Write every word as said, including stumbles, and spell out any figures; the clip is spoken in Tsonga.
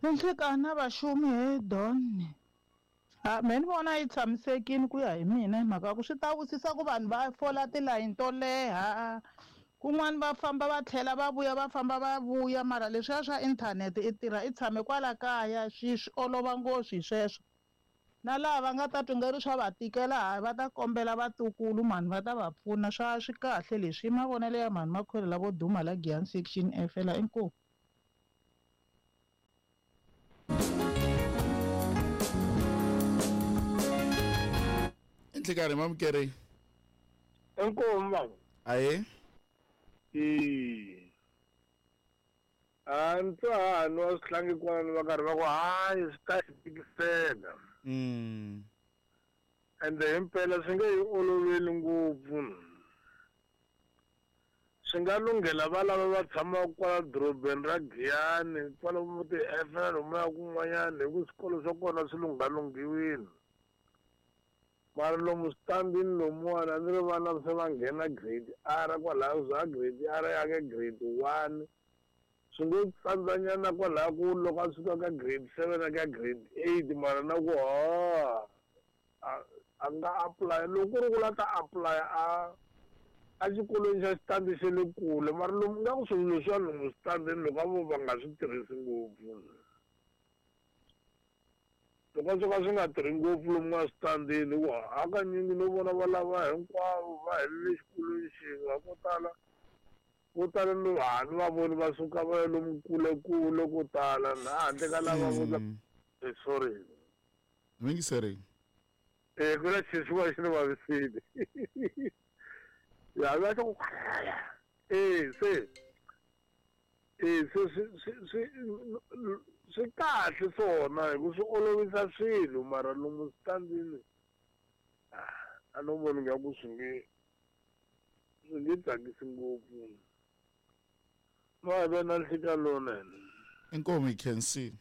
Nhlikana vaxumi he Don. A me ni vona yi tshamisekile ku ya hi mina hi mhaka ku swi ta wisisa ku vanhu va fola tilayini to leha kun'wani va famba va tlhela va vuya va famba va vuya mara leswiya swa inthanete i tirha i tshame kwala kaya swi swi olova ngopfu hi sweswo na laha va nga ta twa nga ri swa va tikela hayi va ta kombela vatukulu mhani va ta va pfuna swa swi kahle leswi i mavonelo ya mhani Makhwele lavo duma la Giyani section F la inkomu. Nhlikani mamukeri. Inkomu baba. Aye. E a ni twa ha nwa swihlangi kwalano va karhi va ku hayi swi ta hi tikisela. Mm. Ende himpela swi nge yi oloveli ngopfu. Swi nga lunghela va lava va tshamaka kwala dorobeni ra Giyani kwalomu ti-F na lomuya kun'wanyana hi ku swikolo swa kona swi lunghalunghiwile. Mara lomu switandini lomuwani a ni ri vana se va nghena grade R kwalaya za grade R ya ka grade one swi ngo tsandzanyana kwalaya ku loko a suka ka grade seven a ka grade eight mara na ku ha a nga apply loko ku ri ku la ta apply a a xikolweni xa xitandi xa le kule mara lomu nga ku swilo leswiya lomu switandini loko a vo va nga swi tirhisi ngopfu loko swo ka swi nga tirhi ngopfu lomu nga switandini ku hakanyingi no vona va lava hinkwavo va helele xikolweni xin'we ko tala vo tala no ha ni va voni va suka va ya lomu kule kule ko tala na handle ka lava vo eh sorry mingiseri eh ku na xixi xi ni vavisile ya va ku eh se eh se swi swi swi kahle swona hi ku swi olovisa swilo mara lomu switandini a no voni nga ku swi nge swi nge tsakisi ngopfu. Va ve na nhlikani lowunene. Inkomu hi khensile.